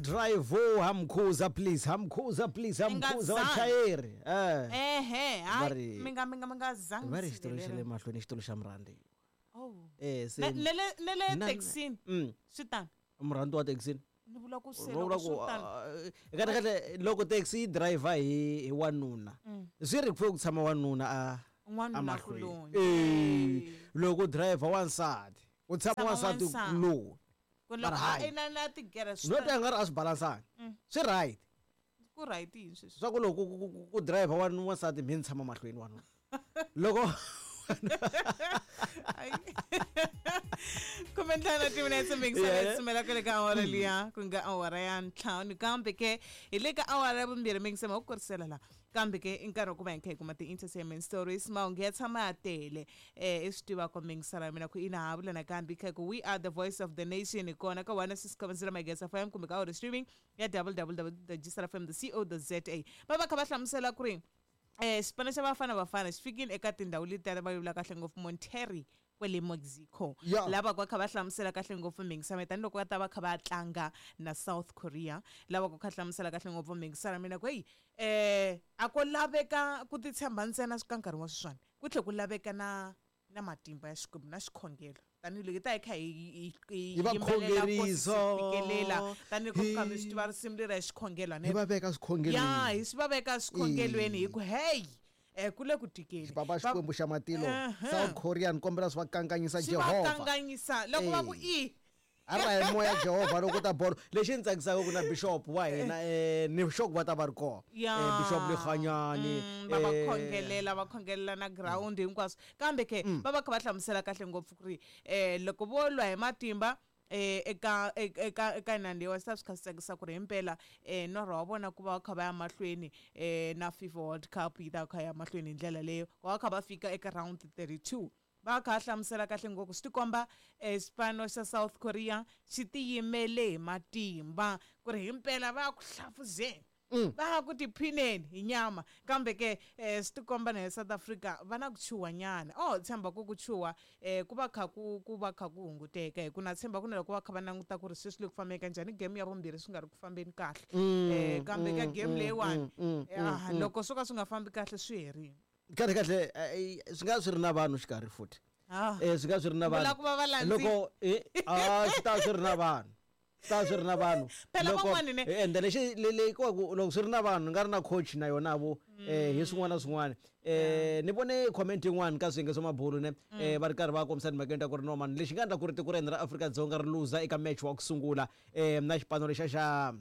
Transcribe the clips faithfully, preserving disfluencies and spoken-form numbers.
Drive hamkhuza please, hamkhuza please, hamkhuza vachayeri. Eh. Ehe, hayi mi nga mi nga mi nga zangi. Va ri xitulu xa le mahlweni xitulu xa murhandziwa. Oh. Eh, se. Ne le ne le taxini. Swi tano. Murhandziwa taxini. Ni vula ku se loko swi tano. Kahle kahle loko taxi yi driver hi hi wanuna. Swi ri ku tshama wanuna a n'wanuna kuloni. Eh, loko driver wansati, u tshama wansati kuloni. Ku loko a ina na tigere swi. No ta nga ri a swi balansanga. Swi right. Ku right yini sweswi? Swa ku loko ku driver wa wansati mi tshama mahlweni wanuna. Loko Kumentlhanu timinetse mingisela sumela kwale ka awara liya ku nga awara ya ntlhanu kambe ke hi le ka awara ya vumbirhi mingisema ku kurisela la kambe ke i nkarhi wa ku va hi kha hi kuma ti-entertainment stories mahungu ya tshama ya tele eh i swi tiva ku mingisela mina ku ina ha vula nakambe kha ku we are the voice of the nation hi kona ka one six seven zero Mageza F M kumbe ka audio streaming ya w w w dot g s r f m dot co dot z a va va kha va hlamusela ku ri eh xipano xa Bafana Bafana xi fikile eka tindhawu letiya va vula kahle ngopfu Monterrey kwale Mexico lava kwa kha va hlamusela kahle ngopfu mingisama tanihiloko va ta va kha va tlanga na South Korea lava ku kha hlamusela kahle ngopfu mingisama mina ku hey eh a ko laveka ku titshemba ntsena ka nkarhi wa sweswiwani ku tlhe ku laveka na na matimba ya Xikwembu na xikhongelo tanihiloko hi ta hi kha hi hi va khongerisa fikelela tanihiloko ku kha mi swi tiva risimu leri ya xikhongelo hi va veka swikhongelweni ya hi swi va veka swikhongelweni hi ku hey eh kule ku tikeli Papa Xikwembu xa matilo South Korea ni kombela swi va kanganyisa Jehovah swi va kanganyisa loko va ku i a ra hi moya Jehovah loko ta bolo lexi ni tsakisaka ku na bishop wa hina eh ni sure va ta va ri kona eh bishop Lekganyane va va khongelela va khongelela na ground hinkwaswo kambe ke va va kha va hlamusela kahle ngopfu ku ri eh loko vo lwa hi matimba eh eka eka eka nandiwa swi kha swi tsakisa ku ri himpela eh norho wa vona ku va kha va ya mahlweni eh na FIFA World Cup yi ta kha ya mahlweni hi ndlela leyo ku va kha va fika eka round thirty-two va kha hlamusela kahle ngopfu swi tikomba xipano xa South Korea xi tiyimele hi matimba ku ri himpela va ku hlafuzeni va ku tiphineni hi nyama kambe ke swi tikomba na hi South Africa va na ku chuha nyana oh tshemba ku ku chuha ku va kha ku ku va kha ku hunguteka hi ku na tshemba ku na loko va kha va languta ku ri sweswi le ku fambeni njhani game ya vumbirhi swi nga ri ku fambeni kahle eh kambe ka game leyiwani loko swo ka swi nga fambi kahle swi herile kahle kahle swi nga swi ri na vanhu xikarhi futhi eh swi nga swi ri na vanhu loko eh a swi ta swi ri na vanhu ta swi ri na vanhu loko ende lexi le ku loko swi ri na vanhu nga ri na coach na yona vo eh hi swin'wana na swin'wana eh ni vone comment yin'wana ka swiyenge swa mabulu ne eh va ri karhi va kombisa timhaka ta ku ri no man lexi nga endla ku ri tiko ra hina ra Afrika-Dzonga ri luza eka match wa ku sungula eh na xipano lexa xa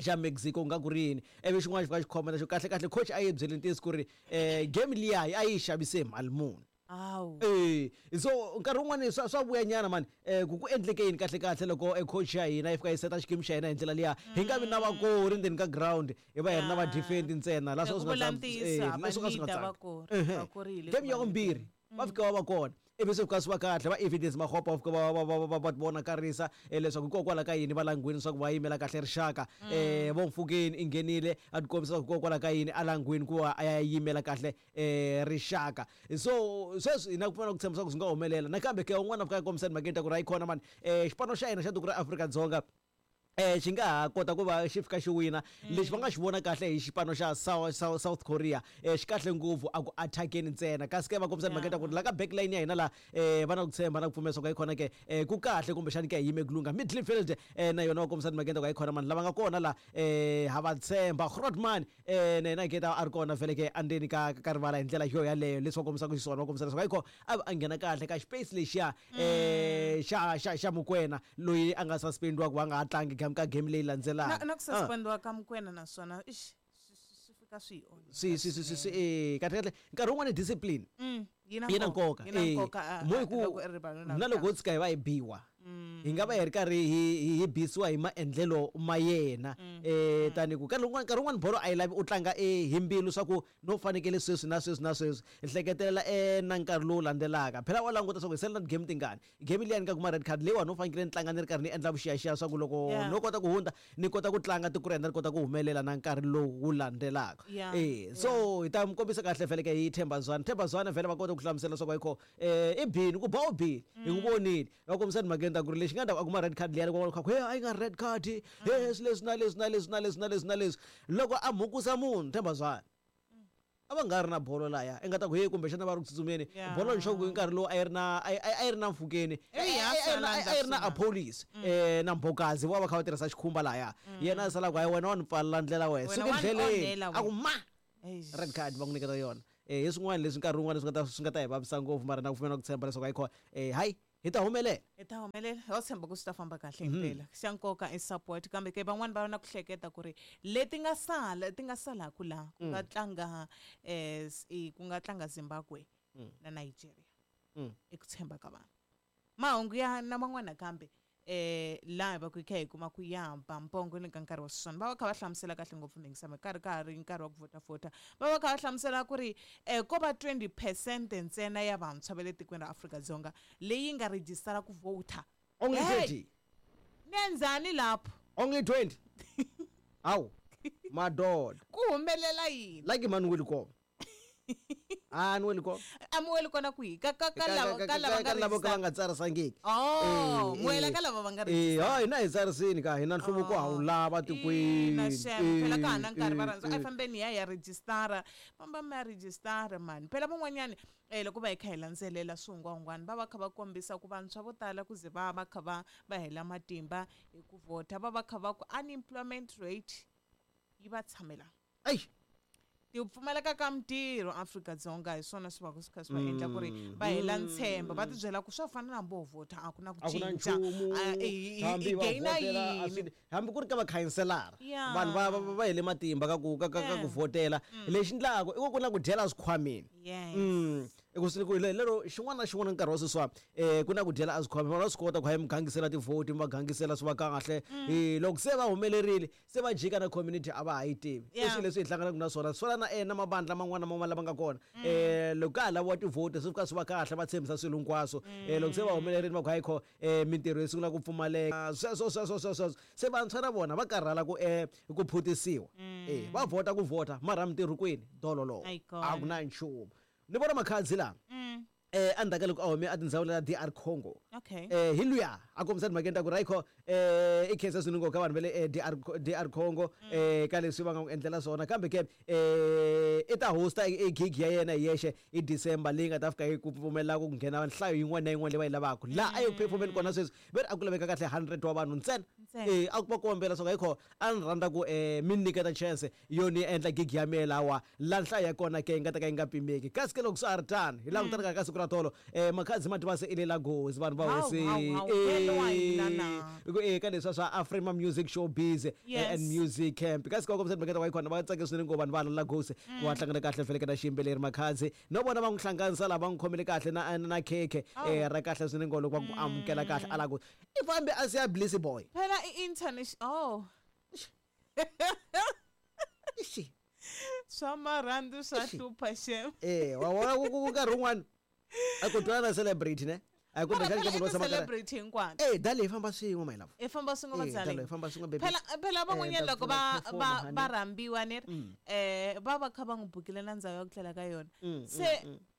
xa Mexico nga ku ri yini ivi xin'wana xi fika xi khomela xo kahle kahle coach a yi byele ntiyiso ku ri eh game liya a yi xavise mali muni awu eh so nkarhi wun'wani swa swa vuya nyana mani eh ku ku endleke yini kahle kahle loko e coach ya hina yi fika yi seta xikimi xa hina hi ndlela liya hi nga vi na vakori ndzeni ka ground hi va hi ri na va defend ntsena la swo swi nga eh swo ka swi nga tsaki game ya vumbirhi va fika va va kona ivi swi fika swi va kahle va evidence Makgopa va fika va va va va va vonakarisa leswaku hikokwalaho ka yini va langwini leswaku va yimela kahle rixaka eh vo Mfukeni i nghenile a ti kombisa hikokwalaho ka yini a langwini ku va a ya yimela kahle eh rixaka so sweswi hina ku pfuna ku tshemba swa ku swi nga humelela nakambe ke un'wana a fika a kombisa timhakeni ta ku ri hayi khona mani eh xipano xa hina xa tiko ra Afrika-Dzonga eh xi nga ha kota ku va xi fika xi wina lexi va nga xi vona kahle hi xipano xa South South Korea eh xi kahle ngopfu a ku attackeni ntsena kasi ke va kombisa timhaka ta ku ri la ka backline ya hina la eh va na ku tshemba na ku pfumela swa ku hayi khona ke eh ku kahle kumbexani ke hi yime ku lungha midfield eh na yona va kombisa timhaka ta ku hayi khona mani lava nga kona la eh ha va tshemba Grootman eh na yena ke ta a ri kona vhele ke andzeni ka ka rivala hi ndlela yo yaleyo leswi va kombisaka xiswona va kombisa leswaku hayi khona a va a nghena kahle ka space lexiya eh xa xa xa Mokoena loyi a nga suspendiwa ku va nga ha tlangi ka game leyi landzelaka na na ku suspendiwa ka Mokoena naswona ix swi fika swi swi swi swi swi eh kahle kahle nkarhi wun'wani discipline yi na nkoka yi na nkoka mo ku na loko ho tshuka hi va hi biwa hi nga va hi ri karhi hi hi bisiwa hi maendlelo ma yena eh tani ku nkarhi wun'wana nkarhi wun'wana bolo a yi lavi u tlanga eh hi mbilu swa ku no fanekele sweswi na sweswi na sweswi hleketelela eh na nkarhi lowu landzelaka phela wa languta swa ku hi sele na game tingani game liya ni nga kuma red card leyiwani no fanekele ni tlanga ni ri karhi ni endla vuxiyaxiya swa ku loko Yeah. no kota ku hundza ni kota ku tlanga tiko ra hina ri kota ku humelela na nkarhi lowu wu landzelaka Yeah, eh so hi ta mi kombisa kahle vhele ke hi Themba Zwane Themba Zwane vhele va kota ku hlamusela swa ku ayikho eh i bini ku ba u bini hi ku vonile va kombisa timhakeni ta ku ri lexi nga ta ku a kuma red card liya loko va ku he a yi nga red card he swi leswi na leswi na leswi na leswi na leswi na leswi loko a mhukusa munhu Themba Zwane a va nga ri na bolo laya i nga ta ku he kumbexana va ri ku tsutsumeni Yeah. bolo nxoko hi nkarhi lowu a yi ri na a yi- a yi ri na mfukeni Eyi, a yi ri na- a yi ri na Appollis eh na Mbokazi vo va kha va tirhisa xikhumba laya yena a sala ku hayi wena wa ni pfalela ndlela wena Wena suka wa ni endleleni onhela a ku ma Eish. red card va n'wi nyiketa yona eh hi swin'wana leswi nkarhi wun'wana swi nga ta swi nga ta hi vavisa ngopfu mara na ku pfumela ku tshemba leswaku hayi kho eh hayi hi ta humelela hi ta humelela ho tshemba ku swi ta famba kahle himpela xa nkoka i support kambe ke van'wani va na ku hleketa ku ri leti nga sala ti nga salaku laha ku nga tlanga eh, s- i- ku nga tlanga Zimbabwe na Nigeria Mm. i ku tshemba ka vanhu mahungu ya na man'wana kambe eh laha hi va ku hi kha hi kuma ku ya ba mpongo ni ka nkarhi wa sweswiwani va va kha va hlamusela kahle ngopfu mingisama karhi ka ha ri nkarhi wa ku vhotavhota va va kha va hlamusela ku ri eh ko va twenty percent ntsena ya vantshwa va le tikweni ra Afrika-Dzonga leyi nga rejistara ku vhota only Hey! twenty ni endzani lapho only twenty hawu madoda ku humelela yini like mani weli kona a ni weli kona a mi weli kona kwihi ka ka ka lava ka lava nga ka lava ka va register nga tsarisangiki oh Eh, muwela eh. ka lava va nga Eh, register ha hina hi tsarisini ka hina nhluvuko ha wu lava tikweni Ina xem phela ka ha na nkarhi va Eh, rhandza a hi eh. fambeni hi ya hi ya rejistara famba mi ya rejistara mani phela van'wanyani um loko va hi kha hi landzelela swihungwahungwani va va kha va kombisa ku vantshwa vo tala ku ze va va kha va va hela matimba hi ku vhota va va kha va ku unemployment rate yi va tshamela Ai, ti pfumaleka ka mintirho Afrika-Dzonga hi swona swi va ku swi kha swi va endla ku ri va hela ntshembo va tibyela ku swa fana na hambi ho vhota a ku na ku a ku na cinca nchumu A, hi- hi- hambi hi va gain-a vhotela, a yini swi- hambi ku ri ka vakhanselara Yeah. vanhu va va- va hele matimba ka ku ka ka ka ku Yeah. vhotela lexi ndlaku i ku ku na ku dyela swikhwameni yes Mm. I ku swi ku le- lero xin'wana na xin'wana nkarhi wa sweswiwa um ku na ku dyela a swikhwameni vanhu va swi kota ku hayi mi gangisela tivhoti mi va gangisela swi va kahle Eh, loko se va humelerile se va jika na community a va ha yi tivi i Yeah. swilo leswi hi hlanganaka na swona swi fana na eh, na mavandla man'wana na man'wana lama nga kona um loko ka ha laviwa tivhoti swi fika swi va kahle va tshembisa swilo hinkwaswo um loko se va humelerile va ku hayi kho um mintirho yi sungula ku pfumaleka sweswo sweswo sweswo sweswo se vantshwa na vona va karhala ku um ku phutisiwa Eh, va vhota ku vhota mara mintirho kwini dololo A yi kona. a ku na nchumu ni vona makhadzi laha Mm. eh endzhaku ka loko a hume etindhawini ta D R Congo okay eh hi luya a kombisa timhakeni ta ku ri ayikho eh i khensa swinene ngopfu ka vanhu va le eh, D R D R Congo eh ka leswi va nga n'wi endlela swona kambe ke eh i ta hosta e e gig ya yena hi yexe hi December leyi nga ta fika yi ku pfumelela ku nghena nhlayo yin'wana na yin'wana leyi va yi lavaka laha a yi ku performeni kona sweswi ve ri a ku laveka kahle hundred wa vanhu ntsena Ntsena. eh a ku va kombela swa ku ayikho a ni rhandza ku eh mi ni nyiketa chance yo ni endla gig ya mehe lawa la nhlayo ya kona ke yi nga ta ka yi nga pimeki kasi ke loko swa ha ri tano hi langutana ka ka siku ra tolo eh makhadzi ma tiva se i le Lagos vanhu va Hawu, hosi hawu, hawu, vele wa hina na. eh ka leswiya swa Afrima Music Showbiz eh, Yes. and Music Camp kasi ka kombisa timhaka ta wa khona va tsake swinene ngopfu vanhu va la Lagos ku va hlangana kahle feleke na xiyimbeleri makhadzi no vona va n'wi hlanganisa laha va n'wi khomele kahle na na khekhe eh ra kahle swinene ngopfu loko va ku amukela kahle a Lagos i fambe a siya Bliss Boy phela i-international oh Ixi. swa marhandu swa Ixi. hlupha xem eh wa vona ku ku- ku nkarhi wun'wana a ku twana na celebrity ne a ku mara kumbexana phela ka i munhu wo tshama karhi ti-celebrity hinkwato eh dale hi famba swin'we my love i famba swin'we Eh, dale vadzaleni hi famba swin'we baby phela phela van'wanyana Eh, ta loko va pfuna va perform, va honey. rhambiwa ni ri eh va va kha va n'wi bukile na ndhawu ya ku tlela ka yona Mm, se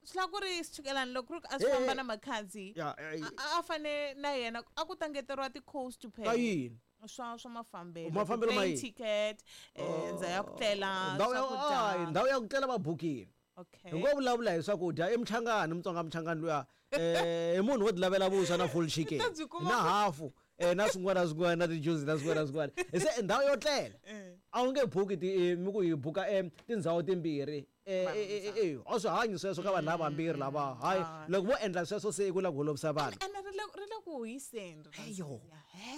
swi lava ku ri swichukelani loko ku ri ku a swi Eh, famba eh. na makhadzi Ya, eh, a a fane na yena a ku ta ngeteriwa ti-cost ka phela yini swa swa mafambelo Mafambelo ma ti-plane yini? ticket eh ndhawu ya ku tlela ndhawu ya swakudya ay, ndhawu ya ku tlela va bukile okay hi ngo vulavula hi swakudya i muchangani mutsonga muchangani luya eh i munhu wo ti lavela vuswa na full chicken Ta byi kuma na hafu eh na swin'wana na swin'wana na ti-juice na swin'wana na swin'wana se ndhawu yo tlela Eh. a wu nge buki ti eh, mi ku hi buka em tindhawu timbirhi eh eh, eh, eh, a swi hanyi sweswo ka vanhu lava vambirhi lava hayi Ah. loko vo endla sweswo se i ku lava ku holovisa vanhu ene ri le ri le ku ku hiseni Heyo.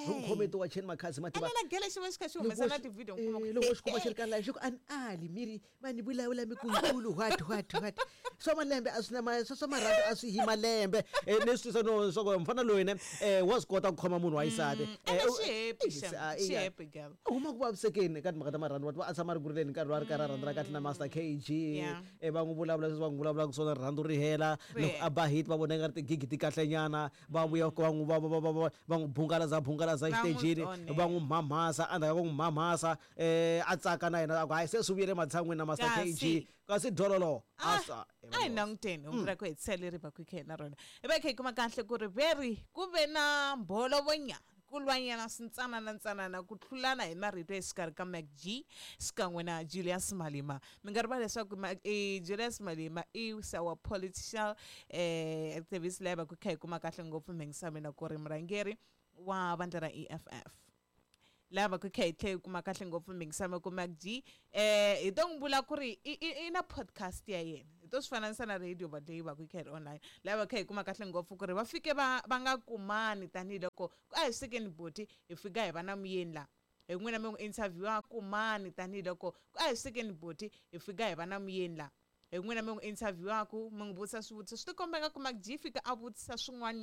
Loko khometi wa cheni makhadzi mativa ene na gele xi va xi kha xi humesa na ti-video Eh, loko xi kuma xi ri ka live xi ku ani ali miri mani vulavula mi ku nkulu what what what swa malembe a swi na ma swa swa marhambu a swi hi malembe. Eh, ni swi twisa no swa ku mfana loyi ne eh wa swi kota ku khoma munhu wa xisati. Ene Eh, u- xi happy eh, xem ah, xi iya. happy girl. U huma ku vavisekeni ka timhaka ta marhandzu wa a tshama a ri ku rileni nkarhi lowu a ri karhi a rhandzana kahle na Master K G. Yeah. Eh, va n'wi vulavula leswi va n'wi vulavulaka swona, rirhandzu ri hela. Ri Loko hela. a ba hit va vona nga ri tigigi ti kahlenyana, va vuya va n'wi va va va va va n'wi bungalaza bungalaza Va n'wi exitejini, onhela. va n'wi mhamhasa. Endzhaku ka ku n'wi mhamhasa, um a tsaka na yena a ku hayi, se swi vuyele matshan'wini na Master Kasi. K G, kasi dololo Ah, a swa a hi languteni hungu ra ku hetisela leri va ku hi na rona hi va hi kha hi kuma kahle ku ri veri ku ve na mbolovonyana, ku lwanyana swintsanana ntsanana, ku tlulana hi marito exikarhi ka Mac G xikan'we na Julius Malema. Mi nga rivali leswaku Ma- eh, Julius Malema i our political eh, activist leyi va ku kha hi kuma kahle ngopfu mhingisamina ku ri murhangeri wa vandla ra E F F lava ku kha hi tlhe hi kuma kahle ngopfu mingisama ku Mac G eh hi to n'wi vula ku ri i i- i na podcast ya yena, hi to swi fananisa na radio va leyi va ku kha hi ri online, lava kha hi kuma kahle ngopfu ku ri va fike va va nga kumani tanihiloko a hi swekeni boti hi fika hi va na muyeni la hi n'wina mi n'wi interview kumani tanihiloko a hi swekeni boti hi fika hi va na muyeni la hi n'wina mi n'wi interviewaku mi n'wi vutisa swivutiso, swi tikomba nga ku Mac G fika a vutisa swin'wana.